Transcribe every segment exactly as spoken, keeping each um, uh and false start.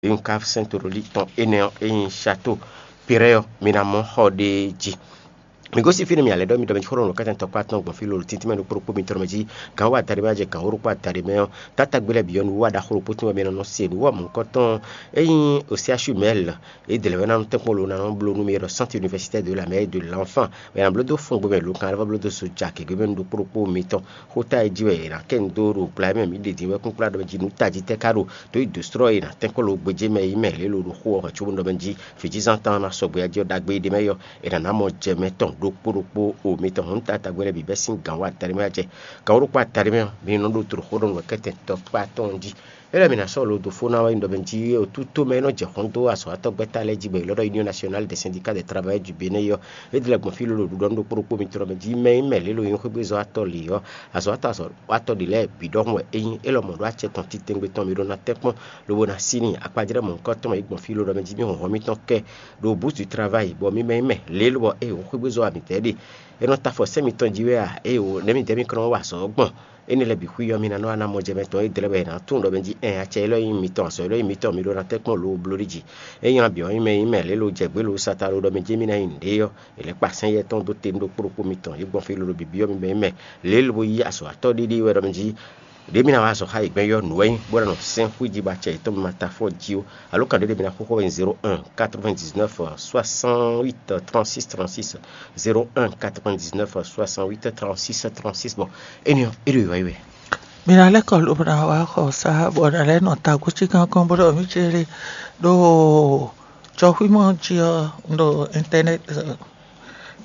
Une cave Saint-Aurélie tɔn énɛ́ ɔ́, é nyí Château Piré ɔ́, mi ná mɔ xɔ ɖ'é jí. Mi gosín fínɛ́, mi alɛ ɖɔ mi ɖɔ mɛ jí xó ɖo nǔkɛ́tɛ́ tɔkpá tɔn gbɔn fí lolo tíntín mɛ ɖo kpóɖokpó mitɔn mɛ jí. Gǎn wá adaɖé mɛ jɛ gǎn wóɖokpó adaɖé mɛ ɔ́, tátagbé lɛ́ɛ bǐ ɔ́, nǔ wá ɖaxó ɖokpó tɔn wɛ mi nɔ nɔ se. Nǔ wɔ mɔ̌hunkɔtɔn ɔ́, é nyí Osiasu Mɛl. É dě lɛ́ wɛ ná nɔ tɛ́nkpɔ́n lo ná nɔ bló nú mi ɖɔ Centre Universitaire de la Mère et de l'Enfant wɛ ná bló dó fɔ́n gbé mɛ lo kan lɛ́ vɔ bló dó so ja gěgé mɛ nú ɖokpó ɖokpó mitɔn. Xó ta e jí wɛ è nǎ kɛ nu dó ɖo gbla e mɛ mǐ ɖe din wɛ kúnkúnɖa ɖɔ mɛ jí nǔ tají tɛ́ ká ɖo dǒ yi dǒ slɔ́ e è nǎ tɛ́nkpɔ́n lo gbéjé mɛ yi mɛ lě lo ɖo xó ɔ́ hɔn cóbó ɖɔ mɛ jí vǐjínzán tɔn ná sɔgbe jí ɔ́ ɖagbe ɖé mɛ yɔ, è nǎ ná mɔ jɛ mɛtɔn ɖokpó ɖokpó o mitɔn hɔn ta tagbɛ́ lɛ́ɛ bǐ bɛ́ sín gǎn wá taɖé mɛ jɛ gǎn wóɖokpó ataɖé mɛ ɔ́, mi nɔ ɖo tlǒ xó ɖɔ nǔ kɛ́tɛn tɔkpá tɔn jí. É lɛ́ mi ná sɔ́ lo dó fó ná wá nyí ɖɔ mɛ jí otútó mɛ e nɔ jɛ xɔ́n dó azɔ̌watɔ́ gbɛ́ta lɛ́ɛ jí bɔ è lɔ́ ɖɔ Union Nationale des Syndicats des Travailleurs du Bénin yɔ, é dlɛ́ gbɔn fí lolo ɖuɖɔ nú ɖokpó ɖokpó mitɔn mɛ jí mɛ e nyí mɛ lě lo nyí xwégbézɔ́watɔ́ lě ɔ́, azɔ̌watɔ́ azɔ̌watɔ́ ɖě lɛ́ɛ bǐ ɖɔhun wɛ é nyí. É lɔmɔ̌ ɖó acɛ tɔn titewungbe tɔn mi ɖó ná tɛ́nkpɔ́n lobo ná sí n'i akpajlɛ́ mɔ̌hunkɔtɔn mɛ yi gbɔn fí lo ɖɔ mɛ jí mì hɔnhɔn mitɔn kɛ ɖo bǔ du travayi bɔ mi mɛ nyí mɛ lě lobɔ é wǒ xwégbézɔ́ wa mǐtɛɛ ɖe. É nɔ ta afɔ sɛ́ mitɔn jí wɛ a? Éeǒ, nɛ̌ midɛɛ mi kɔn nɔ wa azɔ̌ ɔ́ gbɔn? Énɛ́ lɛ́ɛ bǐ xwí ɔ́, mi ná nɔ wá ná mɔ jɛ mɛ tɔn é dlɛ́ wɛ è nǎ tunwun ɖɔ mɛ jí ɛn acɛ élɔ́ nyí mitɔn, azɔ̌ élɔ́ nyí mitɔn, mi ɖó ná tɛ́nkpɔ́n lo bló ɖi jǐ. É nyí nabǐ ɔ́ nyí mɛ nyí mɛ lě lo jɛ gbě lo sata lo ɖɔ mɛ jí mì ná nyi nǔɖé ɔ́, è lɛ̌ kpa sɛ́n yɛ tɔn dó te nú ɖokpó ɖokpó mitɔn. Yě gbɔn fí lolo bǐbí ɔ́, mi mɛ nyí mɛ lě lo yi azɔ̌watɔ́ ɖéɖé wɛ ɖɔ mɛ jí ɖě mi ná wá azɔ̌ xá yě gbɛn yɔ nǔ wɛ nyí bó ná nɔ sɛ́n xwí jí bɔ acɛ yětɔn mi ma ta fɔ jí ó. Alo kan ɖé ɖé mi ná xóxó wɛ nyí zéro un quatre-vingt-dix-neuf soixante-huit trente-six trente-six, zéro un quatre-vingt-dix-neuf soixante-huit trente-six trente-six. Bon, énɛ́ ɔ́, é ɖo yǐwá yi wɛ. Mi ná lɛ́ kɔ lobo ná wá xɔ sá bɔ ná lɛ́ nɔ tagbó cí kánkán bó ɖɔ mì céɖé ɖó jɔxwímɔ jí ɔ́, un ɖo internet,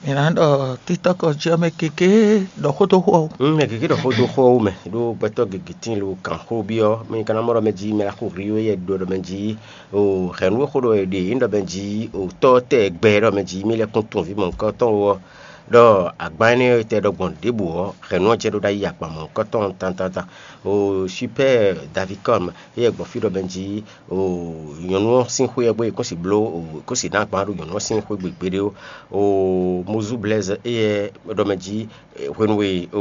mi ná ɖɔ TikTok jí ɔ́ mɛ kéké ɖɔ xó dó xó ɔ́. Mɛ gěgé ɖɔ xó dó xó ɔ́ wú mɛ ɖó gbɛtɔ́ gěgé tíin lo kǎn xó byɔ́ mɛ ka ná mɔ ɖɔ mɛ jí mɛ ná xo hri wé yɛ ɖo ɖɔ mɛ jí o hɛ̌nnu e xó ɖɔ è ɖe nyí ɖɔ mɛ jí o tɔ́ tɛ gbɛ ɖɔ mɛ jí mì lɛ́ kún tunwun vǐ mɔ̌hunkɔtɔn ɔ́ ɖɔ agban énɛ́ e tɛ ɖɔ gbɔn ɖěbǔ ɔ́, hɛ̌nnu ɔ́ jɛ ɖó ɖ'ayǐ agban mɔ̌hunkɔtɔn tantantan. O Super Davicom éyɛ́ gbɔn fí ɖɔ mɛ jí o nyɔ̌nu ɔ́ sín xwé ɔ́ gbé è kó si bló o è kó si ná agban ɖo nyɔ̌nu ɔ́ sín xwé gbe gbeɖé ó. O Mozu Blaise éyɛ́ ɖɔ mɛ jí hwenu e o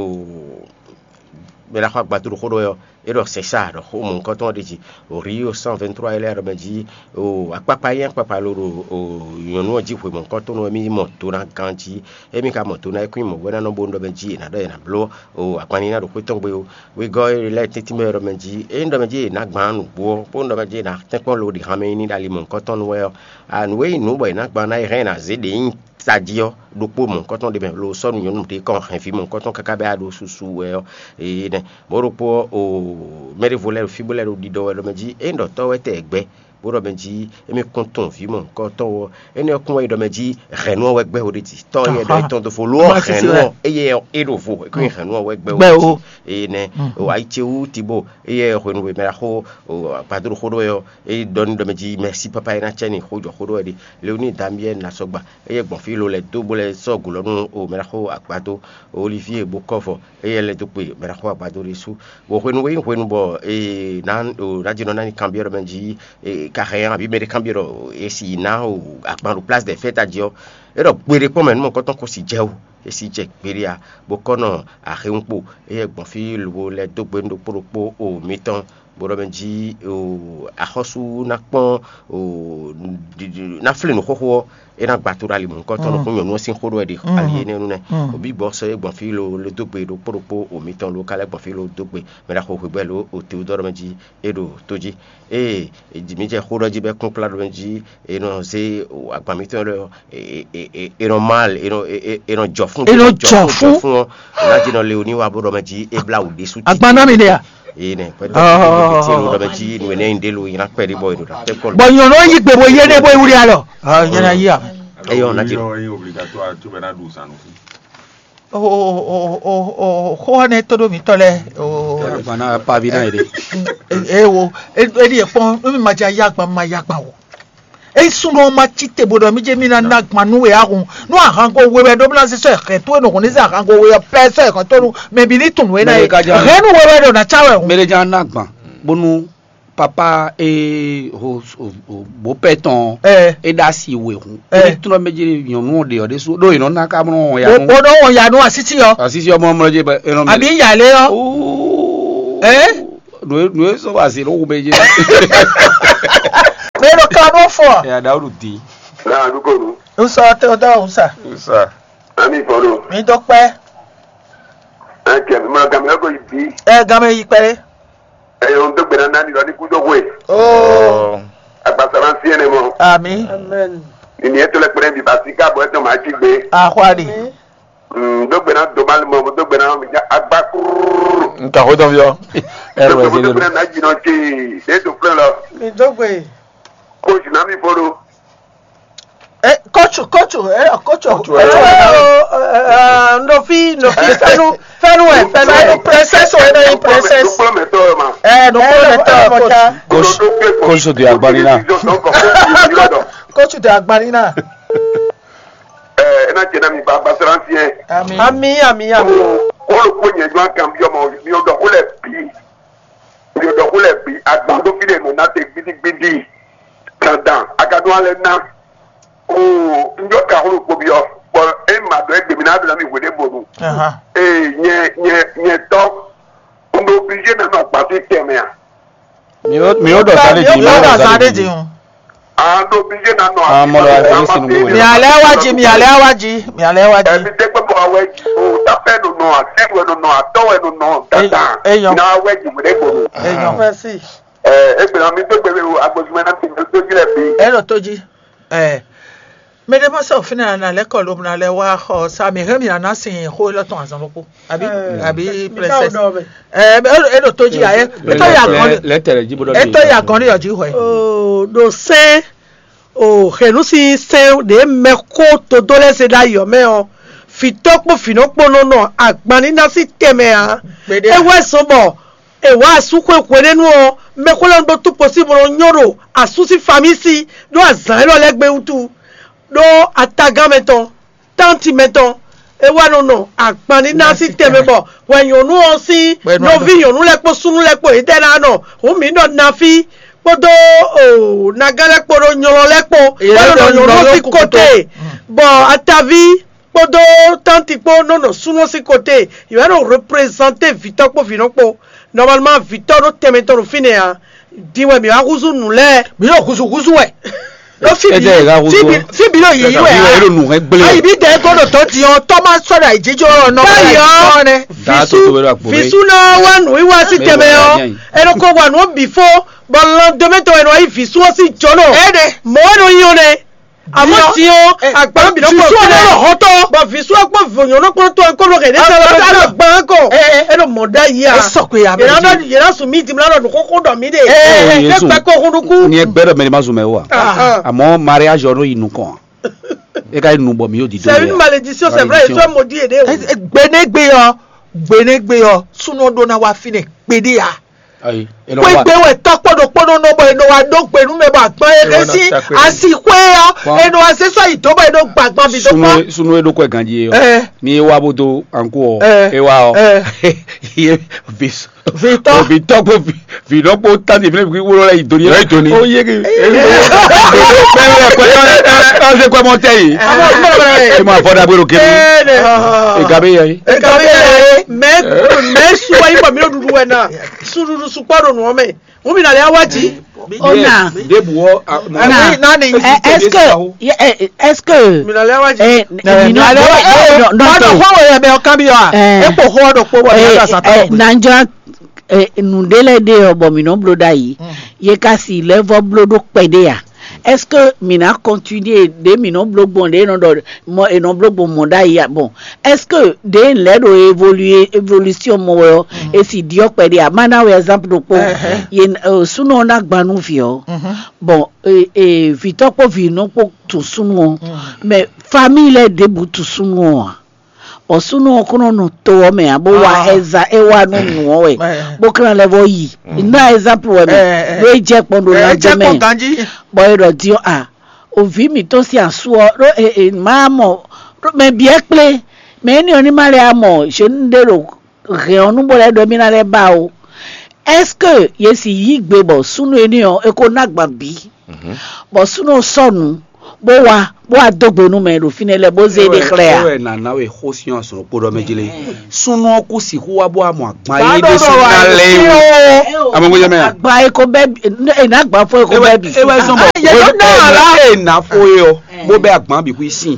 mɛ ná xɔ agban dó ɖo xó ɖɔ wɛ ɔ́, é ɖɔ sɛ̌ sa ɖɔ xó mɔ̌hunkɔtɔn ɔ́ ɖe jí. O Rio cent vingt-trois éyɛ́ ɖɔ mɛ jí o akpakpa nyí akpakpa lo ɖo o nyɔ̌nu ɔ́ jí hwe mɔ̌hunkɔtɔn ɔ́ mì mɔ do ná ganjí. Émí ka mɔ do ná é kún nyí mɔ̌ wɛ ná nɔ bónú ɖɔ mɛ jí è nǎ ɖɔ è nǎ bló o akpanní ná ɖo xwé tɔn gbe ó. Wegɔ́ e lɛ́ɛ tɛ́ntin mɛ ɖɔ mɛ jí é nyí ɖɔ mɛ jí è nǎ gbǎn nǔgbó ɔ́ bónú ɖɔ mɛ jí è nǎ tɛ́nkpɔ́n lo ɖi han mɛ nyí ní ɖo ali mɔ̌hunkɔtɔn nu wɛ ɔ́, a nǔ e nyí nǔ bɔ è nǎ gbǎn ná é hɛn è nǎ zé ɖě nyí tají ɔ́ ɖokpó mɔ̌hunkɔtɔn ɖé mɛ lo sɔ́ nú nyɔ̌nu ɖé kɔn hɛn vǐ mɔ̌hunkɔtɔn káká bɛ́ a ɖo susu wɛ ɔ́. Énɛ́ mɔ̌ ɖokpó ɔ́ o mɛɖevo lɛ́ɛ ɖo fí bó lɛ́ɛ ɖo ɖiɖɔ wɛ ɖɔ mɛ jí é nyí ɖɔ tɔ́ wɛ tɛ gbɛ́ bó ɖɔ mɛ jí émí kún tunwun vǐ mɔ̌hunkɔtɔn ɔ́, énɛ́ ɔ́ kún wɛ nyí ɖɔ mɛ jí hɛ̌nnu ɔ́ wɛ gbɛ́ wo ɖé jí tɔ́ yɛ ɖɔ é tɔn dó fo lo ɔ́ hɛ̌nnu ɔ́ éyɛ́ é ɖo vo é kún nyí hɛ̌nnu ɔ́ wɛ gbɛ́ wo ɖé jí. Énɛ́ o ayicewú tibo éyɛ́ hwenu e mɛ ɖaxó o agbadó ɖo xó ɖó wɛ ɔ́, é ɖɔ n'i ɖɔ mɛ jí mɛ̌si pápá é ná cɛ n'i xó jɔ xó ɖó wɛ ɖe. Leoní Damiɛ́l ná sɔ́ gba éyɛ́ gbɔn fí lo lɛ́ dó bó lɛ́ sɔ́ gǔ lɔ nú o mɛ ɖaxó agbadó Olivier Bokɔ́vɔ éyɛ́ lɛ́ dó kpe mɛ ɖaxó agbadó ɖésú. Bɔ hwenu e nyí hwenu bɔ è nǎ ná jí nɔ ná ní kanbyɔ́ ɖɔ mɛ jí ka hɛn abǐ mɛ ɖé kanbyɔ́ ɖɔ è si ná o agban ɖo Place des Fêtes jí ɔ́, é ɖɔ gbeɖé kpɔ́n mɛ nú mɔ̌kɔtɔn ko si jɛ o, è si jɛ gbeɖé a, bó kɔ́ nɔ axéwúnkpo éyɛ́ gbɔn fí lobo lɛ́ dó gbe nú ɖokpó ɖokpó o mitɔn, bó ɖɔ mɛ jí o axɔ́sú ná kpɔ́n o ná flé nǔ xóxó ɔ́, é ná gba to ɖo ali mɔ̌hunkɔtɔn nukún nyɔ̌nu ɔ́ sín xó ɖɔ wɛ ɖe ali énɛ́ nu nɛ́. Obi bɔ sɔ́ é gbɔn fí lo lo dó gbe ɖokpó ɖokpó o mitɔn lo ka lɛ́ gbɔn fí lo dó gbe mɛ ɖaxó hwebɛ́ lo o Teodɔ́ɔ mɛ jí é ɖo tó jí. Ée mi jɛ xó ɖɔ jí bɔ é kún kplá ɖɔ mɛ jí è nɔ zé agban mitɔn lɔ è nɔ mal è nɔ è nɔ jɔ fún È nɔ jɔ fún. Jɔ fún ɔ́, ná jí nɔ le oní wa bó ɖɔ mɛ jí é blá wǔ ɖésú. Agban ná mi ɖe a? Eye nɛ pɛtɛ Oh. Tí lo ɖɔ mɛ jí nu ɛnɛ yin ɖe lo yin akpɛ ɖi bɔ yin ɖo ɖa tɛ kɔlu. Bɔ nyɔnu yi gbe bo yé ne bo wuli alɔ. Ah, nyɛ na yi a. Eye ɔn na jí. Yɔ ye obligatoire tu bɛ na ɖu zanu fún. O o o o o xɔ ne to ɖo mi tɔ lɛ. O Agban ná pa vi ná yi ɖe. E wo e e ɖi ekpɔn mi ma ja ya agban ma ya agban o. Eyi sunnu ɔ́ ma cí te bo ɖɔ mí jɛ mí ná ná gban nú we ahun. Nú ahango we wɛ ɖó bla sɔ́ ɛhɛn tó e nɔ hɔn ní sɛ ahango we ɔ́ pɛ sɔ́ ɛhɛn tó nu mɛ bǐ ní tunwun we ná Mɛ ye. Ɖé ka jɛ Hɛn nú we wɛ ɖo ná cá wɛ hùn. Mɛ ɖé jɛ ná gban bónú papa e ho ho bó pɛ tɔn Ɛ. E ɖo asi we hùn. Ɛ. E ní tunɔ mɛ jɛ nyɔnu ɔ́ ɖe ɔ́ ɖé sú ɖó e nɔ ná ká mɔ ya O nu. O ɖo wɔn ya nu asiti ɔ. Asisi ɔmɔ mɔ jɛ bɛ e nɔ mɛ. Àbí ìyàlẹ́ ɔ. Ooo. Ɛ. Nù e nù e sɔ wá sí ló wù mɛ jɛ. Pardon for. Ya Dawudu di. Na dukonu. Usa te o da usa. Usa. Ami fɔlɔ. Mi dɔ pɛ. Ɛkɛ mi ma gamɛ ko yi bi. Ɛ game yi pɛ. Ɛ yɔ n dɔgbe na nani lɔ ni kudo hwe. Oh. Agbasara si ene mɔ. Ami. Amen. Ni ni eto lɛ kpɛrɛ bi basi ka bɔ eto ma ci gbe. Ahwadi. Mm, dɔgbe na do mali mɔ, dɔgbe na mi ja agba kururu. Nka ho dɔn yɔ. Ɛrɛ wɛ se. Dɔgbe na jinɔ ce. E to flɛ lɔ. Mi dɔgbe. Ko si na mi fɔlɔ. Eh, coach, coach, eh, coach, coach, eh, eh, eh, no fi, no fi, fɛnu, fɛnu, eh, fɛnu, eh, princess, eh, no, princess. Nukplɔmɛtɔ ma. Eh, nukplɔmɛtɔ, coach. Coach, coach de agbanina. Coach de agbanina. Eh, ena jena mi ba ba sransiɛ. Ami, ami, ami. Kolo ko nyɛ jɔ kan bi ọmọ mi o dɔ ko lɛ bi. Mi o dɔ ko lɛ bi agban do fi de mo na te gbidi gbidi. Dandan, a ka ɖó alɛ ná. Oo, un ɖɔ ka xló kpobyɔ, bɔ é ma ɖɔ égbé mi ná ɖo ná mi hwe ɖé bonu. Ee, nyɛ nyɛ nyɛ tɔ, un ɖo obligé ná nɔ agbasi tɛnmɛ a? Mi ó mi ó ɖɔ sa ɖé din, mi ó ɖɔ sa ɖé din. A ɖo obligé ná nɔ Ah, mɔ lɔ agbasi asi nu mi. Mi alɛ wá jí, mi alɛ wá jí, mi alɛ wá jí. Ɛmi tɛ gbɛ bɔ awɛ o tapɛ nɔ nɔ atɛ wɛ nɔ nɔ atɔ wɛ nɔ nɔ dada. Eyɔn. Na awɛ jí wɛ ɖe bonu. Eyɔn. Merci. Ɛ, egbe na mi do gbe o agbosumɛ na ti do ji lɛ bi. Ɛ ɖo tó jí. Ɛ, mɛ ɖé ma sɔ fínɛ na lɛ kɔ lo na lɛ wá xɔ sa mi hɛn mi na na sin xó lɔ tɔn azɔn lóko. Abi Ɛ, abi mi ka princess. Dɔ mɛ. Ɛ, e ɖo tó jí ayɛ. E tó ya gɔn. Lɛ tɛlɛ jí bó dɔ. E tó ya gɔn ní yɔ jí hwɛ. O ɖo sɛn o hɛnu si sɛn ɖe mɛ ko todo lɛ se ɖa yɔ mɛ ɔ. Fitɔ kpo finɔ kpo nɔ nɔ agban ní na si tɛmɛ a. Gbeɖe. E wɛ sɔn bɔ È wǎ asú xwe hwenɛ́nu ɔ́, mɛxwélɔ́nu ɖó túkpo sín bo nɔ nyɔ́ ɖo asú sín famísi ɖó azǎn élɔ́ lɛ́ɛ gbe wútu, ɖó atagán mɛtɔn, tánti mɛtɔn, é wá nɔ nɔ agban ní ná sín tɛnmɛ bɔ hwɛ nyɔ̌nu ɔ́ sín nɔví nyɔ̌nu lɛ́ɛ kpó súnnu lɛ́ɛ kpó yětɛ́ ná nɔ hǔn mǐ ɖɔ nafí kpódó nagán lɛ́ɛ kpó ɖó nylɔ lɛ́ɛ kpó wá nɔ nɔ nyɔ̌nu ɔ́ sín kote, bɔ ataví kpódó tánti kpó nɔ nɔ súnnu ɔ́ sín kote, yě wá nɔ reprezanté vǐtɔ́ kpó vǐnɔ kpó. Nɔmalma vǐtɔ́ ɖó tɛnmɛ tɔn ɖo fínɛ́ ǎ. Din wɛ mǐ wá húzú nǔ lɛ́ɛ. Mǐ ɖo húzú húzú wɛ. Ɖó fí Ɛ jẹ́ ìhà húzú. Fí bǐ ɖo yìí wɛ ǎ. Ẹ ló nù hẹ́ gblé. Ayi bí dɛ kó ɖo tɔ́ ti ɔ́, tɔ́ má sɔ́ ɖo àyíjíjó ɔ́ nɔ. Báyìí ɔ́, Vǐsú Vǐsú ná wá nǔ wíwá sí tɛnmɛ ɔ́. Ẹ nɔ ko wa nǔ bǐ fó, bɔ lan dɔmɛtɔ ɛ nɔ yí Vǐsú ɔ́ sín jɔ̌nɔ. Ɛ ɖe. Mɔ̌ wɛ nɔ nyí ɔ́ nɛ́. Àmọ́ tí ó àgbà bìnú kò fún ẹ lọ́rọ̀ họ́tọ́. Bɔ vǐ sú ɔ́ kpó vònyɔ́ ló kpó tó ɔ́ kó ló kɛ ní sálọ bá lọ gbọ́n kɔ. Ẹ lọ mọ̀ dá yìí à. Ẹ sọ pé a bẹ Yẹ̀rọ náà yẹ̀rọ sùn mí dìmú lánàá nìkó kó dọ̀ mí dè. Ẹ Jésù. Ẹ pẹ́ kó hún dúkú. Ní ẹgbẹ́ dọ̀ mẹ́rin má sùn mẹ́ wà. Àmọ́ mariage ọ̀rọ̀ yìí nù kàn. E ka yi nù bọ̀ mí yóò di dó. C'est une malédiction, c'est vrai, et toi maudit et des. Gbenégbé yɔ, gbenégbé yɔ, súnú ɖó ná wá fínɛ kpédé ya. Ayi. Kpégbé wɛ tɔ́ kpɔ́ ɖokpó nɔ nɔ bɔ è nɔ wá ɖó gbe nú mɛ bɔ agban e ɖe sín asi xwé ɔ́, è nɔ wá zé sɔ́ yi dó bɔ è nɔ gba agban bǐ dó kpɔ́. Sunu e ɖo kɔ ganji e ɔ. Ni e wa bo do anko ɔ, e wa ɔ. Ye vi vitɔ vi tɔ ko vi vi dɔ ko tan di fi ne bi wolo la yi doni. Yi doni. O ye ke. Bɛɛ bɛ kɔ ɛ ɛ ɛ ɛ kɔ mɔ tɛ yi. E ma fɔ dagbe ɖo kiri. E ga be yɛ yi. Ekabe yɛ ye, mɛ mɛ suwa yi bɔ mi ɖo ɖuɖu wɛ na suɖuɖu sukpɔ ɖo nua mɛ. Ŋu mi na lɛ awa dzi. Ona. Debu wɔ. Na. Nani. Est-ce que est-ce que mi na lɛ awa dzi. Mi na lɛ awa dzi. Ɔdɔ xɔ wɛ yɛ bɛ ɔkan bi yɔ a. Ekpo xɔ ɖo kpo bɔ mi na sa ta. Nanjɔ. Nǔɖé lɛ́ɛ ɖe ɔ́ bɔ mǐ nɔ bló ɖ'ayǐ, yě ka si lɛ́ vɔ́ bló ɖó kpɛɖé ǎ. Est-ce que mǐ ná continuer ɖě mǐ nɔ bló gbɔn ɖě è nɔ ɖɔ mɔ è nɔ bló gbɔn mɔ̌ ɖ'ayǐ ǎ? Bon, est-ce que ɖě un lɛ́ ɖo évoluer évolution mɔ wɛ ɔ́, è si ɖyɔ́ kpɛɖé ǎ? Má ná wɛ exemple ɖokpó. Yě súnɔ ɔ́ ná gban nú vǐ ɔ́. Bon, vǐtɔ́ kpó vǐnɔ kpó tunwun súnnu ɔ́, mais famille lɛ́ɛ ɖěbǔ tunwun súnnu ɔ́ ǎ. Bɔ súnnu ɔ́ kó nɔ nɔ to ɔ́ mɛ ǎ, bó wa ɛza é wa nú nǔ ɔ́ wɛ, bó ká ná lɛ́ vɔ́ yi. Ná ɛzáplu wɛ mɛ, bó é jɛ kpɔ́n ɖo lánjɛ mɛ, bɔ é ɖɔ din ɔ́ a, o vǐ mǐtɔn sín asú ɔ́ ɖó e e má mɔ ɖó mɛ byɔ́ kplé, mɛ énɛ́ ɔ́ ní má lɛ́ mɔ zěnu ɖé ɖo hɛn ɔ́ nú bó lɛ́ ɖɔ émí ná lɛ́ ba ó. Est-ce que yě si yí gbe bɔ súnnu énɛ́ ɔ́ é kó ná gban bǐ? Bɔ súnnu ɔ́ sɔ́ nǔ, bó wá bó wá dó gbe nú mɛ ɖo fínɛ́ lɛ́ɛ bó zé ɖe xlɛ́ a? Ewɛ nana we xó sín azɔn kpó ɖɔ mɛ jí lé. Súnnu ɔ́ kú sixú wá bó wá mɔ agban yí ɖé sín ná lɛ o. Amɔgɔjɛ mɛ a? Agban e ko bɛ bi, e na agban fɔ e ko bɛ bi. Ewɛ zɔn bɔ yɛ ló ná la. E na fo ye ɔ, bó bɛ agban bi kú sín,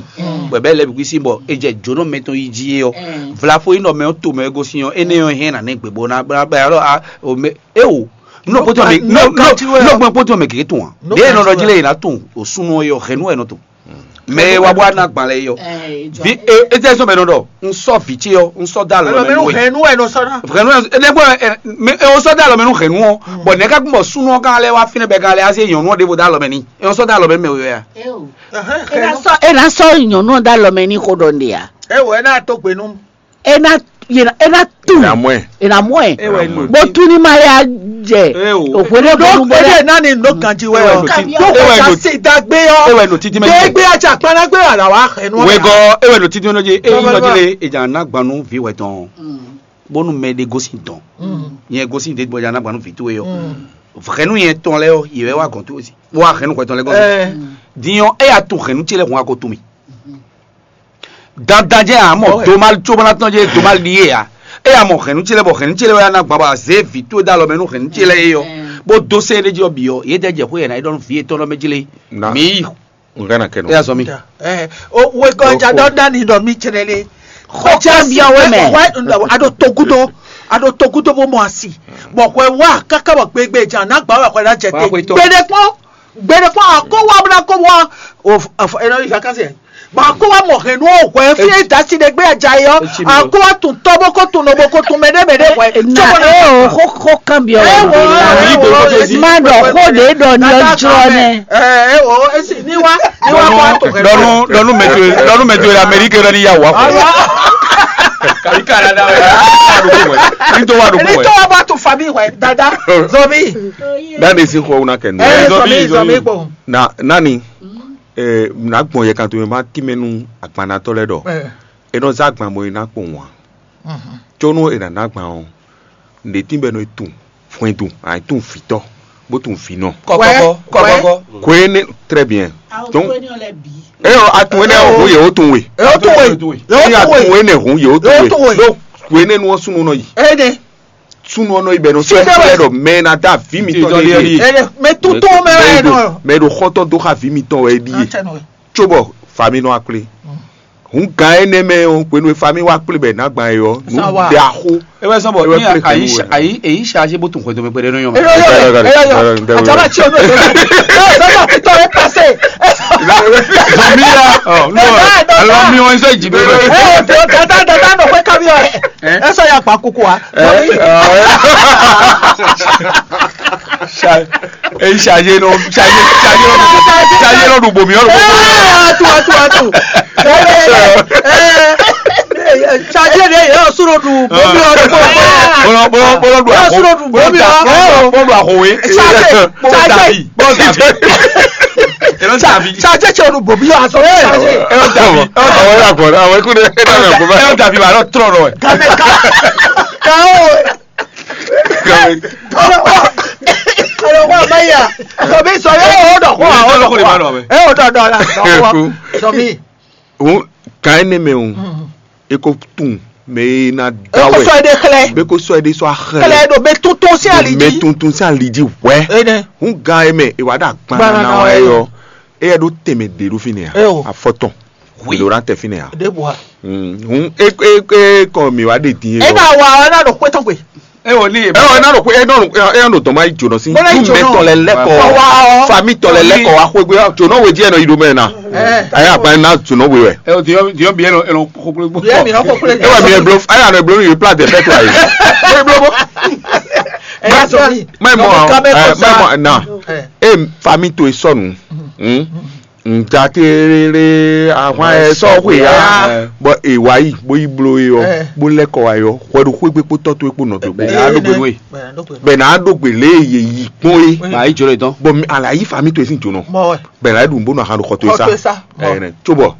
bɔ bɛ lɛ bi kú sín bɔ e jɛ jónɔ mɛ tɔn yi jí ye ɔ. Vlafo yi nɔ mɛ ɔ to mɛ e gosín ɔ, énɛ́ ɔ́ hɛn na nɛ gbegbo na bla bla alɔ a o mɛ e o. Nɔ kpótó mɛ nɔ nɔ gbɔn kpótó mɛ kékeré tún wa. Ɖé nɔ ɖɔ jí lé yìí ná tún o súnú ɔ yɔ hɛnú ɛ nɔ tún. Mɛ wa bɔ ana gban lɛ yɔ. Vi e e tɛ sɔn mɛ nɔ ɖɔ n sɔ vǐ ce yɔ n sɔ da lɔ mɛ nú we. Hɛnú ɛ nɔ sɔ ná. Hɛnú ɛ ne bɔ ɛ mɛ e o sɔ da lɔ mɛ nú hɛnú ɔ. Bɔn nɛ ka gbɔn súnú ɔ kan lɛ wa fínɛ bɛ kan lɛ ase nyɔnu ɔ ɖe bo da lɔ mɛ ni e o sɔ da lɔ mɛ mɛ o ya. E na sɔ e na sɔ nyɔnu ɔ da lɔ mɛ ni xo ɖɔ nɖe ya. E wɔ ɛ na to gbe nú. E na e na e na tu. E na mɔ ɛ. E na mɔ ɛ. E wɛ nɔ. Bó tún ní ma ya jɛ. E o. Òpè lè bó Ɖó bó ebe lɛ. Nani nɔ ganji wɛ Ewɛ ɔ. nɔ ti- Ɖó ewɛ kò nɔ- sa se dagbe ɔ. Ewɛ nɔ titi mɛ. Gbegbe atsa kpanagbe wà là wà xɛ nù. Wegɔ ewɛ nɔ titi mɛ nɔ dzi eyi nɔ dzi le edza na gbanu vi wɛ tɔn. Bónú mɛ ɖe gosin tɔn. Nyɛ gosin ɖe bɔ dza na gbanu vi towe yɔ. Hɛnu yɛ tɔn lɛ yɔ yɛ wɛ wa gɔn towe si. Wa hɛnu kɔtɔn lɛ gɔn. Dinyɔ eya to hɛnu tsi lɛ hun ako to mi. Dandan jẹ́ àmọ́ Ɔwɛ. Domal tsomanatɔn jẹ́ domal ɖi yé ya. Eya mɔ hɛnnu tsi lɛ bɔ hɛnnu tsi lɛ wɛ ana gba bɔ azé vi tó da lɔ mɛ nú hɛnnu tsi lɛ yé yɔ. Bó dó sɛ ɖé jɔ biyɔ yé dɛ jɛ xó yɛ na yi ɖɔ nú vi yétɔn lɔ mɛ jlé. Na. Mi yi. N ka na kɛ nɔ. Eya zɔ mi. Ɛ o wekɔ ja dɔ dani dɔ mi tsɛnɛ le. Xɔ ja bia wɛ mɛ. Wɛ a ɖo togudo a ɖo togudo bó mɔ asi. Bɔn hwɛ wa kaka bɔ gbegbe jan na gba wɛ hwɛ na jɛ te. Wa hwetɔ. Gbede kpɔn. Gbede kpɔn akó wa bla kó wa o f- af- ena yi vacances yɛ. Ba kó wa mɔ hɛn nú o hwɛ fi e dasi ɖe gbé adza yi ɔ. Etsi mi o. Akó wa tun tɔ bó kó tun nɔ bó kó tun mɛ ɖé mɛ ɖé hwɛ. Na e o xó xó kan bi ɔ. Ɛ wɔ Yi do kó tó zi. Ma ɖɔ xó ɖe ɖɔ ni ɔ jɔ nɛ. Ɛ ɛ o esi ni wa ni wa kó wa to hɛn. Dɔnu dɔnu mɛtɔ dɔnu mɛtɔ yɛ Amérique yɛ ni ya wa kɔ. Kàbí Canada wɛ. Ní tó wà lóko Ní wɛ. Tó wà bá tó fami wɛ dada zɔmi. Dani si xɔ wuna kɛ nù. Ɛ Zɔmi, zɔmi zɔmi zɔmi. Kpɔ. Na nani. Ɛ na gbɔn yɛ kan tó ma tí mɛ nú agbanatɔ lɛ dɔ. Ɛ E nɔ zá agban bɔ é ná kpɔn wǎn. Có nú è nǎ ná agban ɔ́, nǔɖé tín bɔ è nɔ yi tunwun hwɛndo, a yi tunwun vǐtɔ́, bó tunwun vǐnɔ. Kɔkɔkɔ kɔkɔkɔ. Kwé énɛ́ très bien. Donc, é ɔ a tunwun énɛ́ ɔ́ hǔn yě ó tunwun we. Yóò tún wè. Ní a tunwun énɛ́ hǔn yě ó tunwun we. Yóò tún wè. Donc, kwé énɛ́ nu ɔ́ súnnu nɔ yi. Énɛ́. Súnnu ɔ́ nɔ yi bɔ è nɔ sɔ́ Súnnu ɛ ɔ́. Lɛ́ ɖɔ mɛ e ná dá vǐ mitɔn Mitɔn ɖe ɖe ɖíe. Ɛnɛ mɛ tuntun mɛ wɛ nɔ. Mɛ e ɖo xɔ́ntɔn dó xá vǐ mitɔn wɛ é ɖíe. Atsɛ nɔ. Tso bɔ fami nɔ wá kplé. Hǔn gǎn énɛ́ mɛ ɔ́, hwenu e fami wá kplé bɔ è nǎ gban é ɔ́, nǔ Sa wa. Ɖe axó. É wɛ sɔn bɔ É wɛ ní kplé ayi kɛnu wɛ. Ayi eyi ṣe ajé bó tún xwedó mɛ pɛɖɛ nɔ yɔn. Eyo yo eyo yo. Ataba tsi o no do. Eyo tɔ e pase. Zɔmi ya. Ɔ no. Dada, dada. Alɔ mi wɔn sɔ jì bɛ. Eyo dada dada nɔ xwe kami ɔ. Ɛ sɔ ya gba kuku wa. Zɔmi. Eyi ṣe ajé nɔ ṣe ajé ṣe ajé nɔ ṣe ajé nɔ ɖu bomi ɔlɔ. Atu atu atu. Ṣáájú èdè yìí yóò súrò dùn bómi ọdún kó. Bọ́lá bọ́lá bọ́lá dùn àkó. Yóò súrò dùn bómi ọdún kó. Bọ́lá dùn àkó wé. Ṣáájú ṣáájú Bọ́lá dàbí. Ṣáájú ṣe ṣe ṣe ọdún bómi yóò aṣọ ṣáájú. Ẹ ọ́ dàbí. Àwọn ẹ̀rọ àgbọ̀n àwọn ẹ̀kú ni ẹ dàbí àgbọ̀n báyìí. Ẹ ọ́ dàbí wàá lọ tọrọ ẹ. Gàmẹ ká ká ó. Gàmẹ. Ọlọ́wọ́ ọlọ́wọ́ àmọ́ yà. Sọ̀bí sọ̀rọ̀ ẹ̀ ọ́ dọ̀ kó wa ọ́ dọ̀ kó wa. Ẹ̀ ọ́ dọ̀ dọ̀ la. Sọ̀bí. Òun kàn ẹ́ ní mẹ́ o. E ko tun mɛ e na da Eko wɛ sɔ ede xlɛ. Be ko sɔ ede sɔ axlɛ. Xlɛ ɖo be tuntun sí ali Mɛ jí. Tuntun sí ali jí wɛ. Ene. Hun gan e mɛ e wa ɖo agban Gban na na wa wa yɔ. Eyɛ ɖo tɛmɛ de ɖo fi nɛ Eo. A afɔtɔn. Wi. Lo ra tɛ fi nɛ a. De bua. Hun e e e kɔ mi wa de din E yɔ. Na wa ɔ na ɖo xwetɔn gbe. Ewɔ ní Ewɔ ena ɖo xwe ena ɖo ena ɖo dɔn ma yi jɔnɔ sí. Bɔlá yi Tún mɛ jɔnɔ. Tɔlɛ lɛkɔ. Wa ɔ. Fami tɔlɛ lɛkɔ wa xwe gbé jɔnɔ we díẹ̀ nɔ yi ɖo mɛ na. Ɛ. Ayé agba ena jɔnɔ we wɛ. Ɛ o diɔ diɔ bi ɛnɔ ɛnɔ koklo gbɔ. Yɛ mi ɔ koklo. Ewa mi eblo aya nɔ eblo mi place de fête wa yi. Eblo bo. Ɛ yà sọ mi. Mɛ mɔ Nɔ mi ɛ mɛ mɔ na. Ɛ. E fami to esɔnu. Hmm. Njaterere ahwan ɛ sɔ xwe ya. Bɔ e wa yi bo yi blo ye ɔ, bo lɛ kɔ wa yɔ hwɛ ɖo xwegbe kpó tɔ towe kpó nɔ towe kpó. Bɛ n'a ɖo gbe nú ye. Bɛ n'a ɖo gbe lě e ye yi gbɔn ye. Bɔ ayi jɔ lɛ dɔn. Bɔ mi ala yi fa mi to esi jonɔ. Bɛ n'a ɖu bó nɔ ahan ɖo xɔ towe sa. Ɛnɛ tso bɔ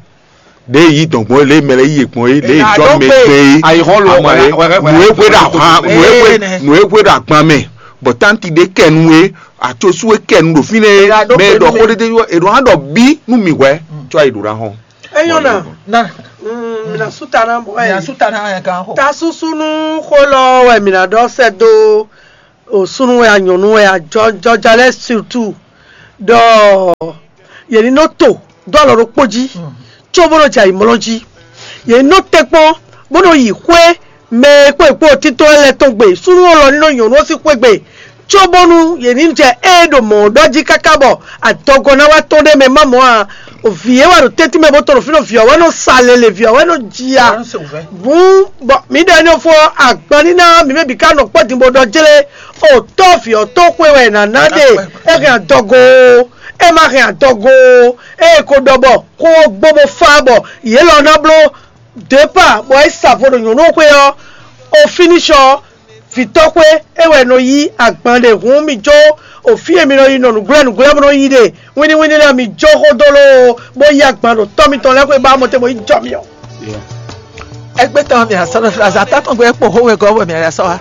ɖe yi dɔn gbɔn ye lě mɛ lɛ yi ye gbɔn ye lě jɔ mɛ gbɛ ye. Ayi xɔ lo. Amɔ ye nu e hwe ɖo ahwan nu e hwe nu e hwe ɖo agban mɛ. Bɔ tanti ɖé kɛ nu e, atsosu e kɛ nu ɖo fínɛ́ e, È ɖo mɛ e ɖɔ xó ɖéɖé ɔ́, è ɖo hã ɖɔ bí nú mì hwɛ̌, có ayi ɖǒ ná hɔn. Enyɔ na. Na. Mm, mina suta na bɔ mina suta na ya kan xo. Ta susu nú xó lɔ wɛ mina ɖɔ sɛ do o sunu wɛ a nyɔnu wɛ a jɔ jɔja lɛ surtout ɖɔ yě ní nɔ to dó alɔ ɖokpó jí, có bó nɔ jɛ ayǐmlɔ́ jí. Yě ní nɔ tɛ́nkpɔ́n bó nɔ yi xwé mɛ e kpó è kpó títɔ́ lɛ́ɛ tɔn gbe, súnnu ɔ́ lɔ ní nɔ nyɔ̌nu ɔ́ sín xwé gbe, cóbónú yě ní jɛ ée ɖo mɔ̌ ɖɔ jí káká bɔ adɔgɔ́ ná wá tɔ́n ɖ'é mɛ má mɔ̌ ǎ. Vǐ e wɛ ɖo tɛ́ntin mɛ bó tɔn ɖo fínɛ́, vǐ ɔ́ wɛ nɔ sa lele, vǐ ɔ́ wɛ nɔ ji ya. Bǔ bɔ mǐ ɖɔ énɛ́ fó ɔ́, agban ní ná mǐ mɛ bǐ ká nɔ kpɔ́ din bó ɖɔ jlé. O tɔ́ vǐ ɔ́ tó xwe wɛ è nǎ ná ɖe. É hɛn adɔgo ó, é má hɛn adɔgo ó. Ée ko ɖɔ bɔ xó ɔ́ gbó bó fá bɔ yě lɔ ná bló départ bɔ é sa vo ɖo nyɔ̌nu xwé ɔ́, o fínísɔ vǐtɔ́xwé é wɛ nɔ yí agban ɖe hǔn mi jó o fí e mi nɔ yi nɔ nǔgblɛ́ nǔgblɛ́ bó nɔ yí ɖe wínníwínní lɛ́ɛ mi jó xó dó lóo bó yí agban ɖo tɔ́ mitɔn lɛ́ɛ xwé ba mɔ te bó yi jɔ mi ɔ́. Ẹgbẹ́ tɔn mi àsɔ́ lọ fúlazà tátɔ̀gbẹ́ kpò hówe gɔ́ bɔ mi àyà sɔ wa.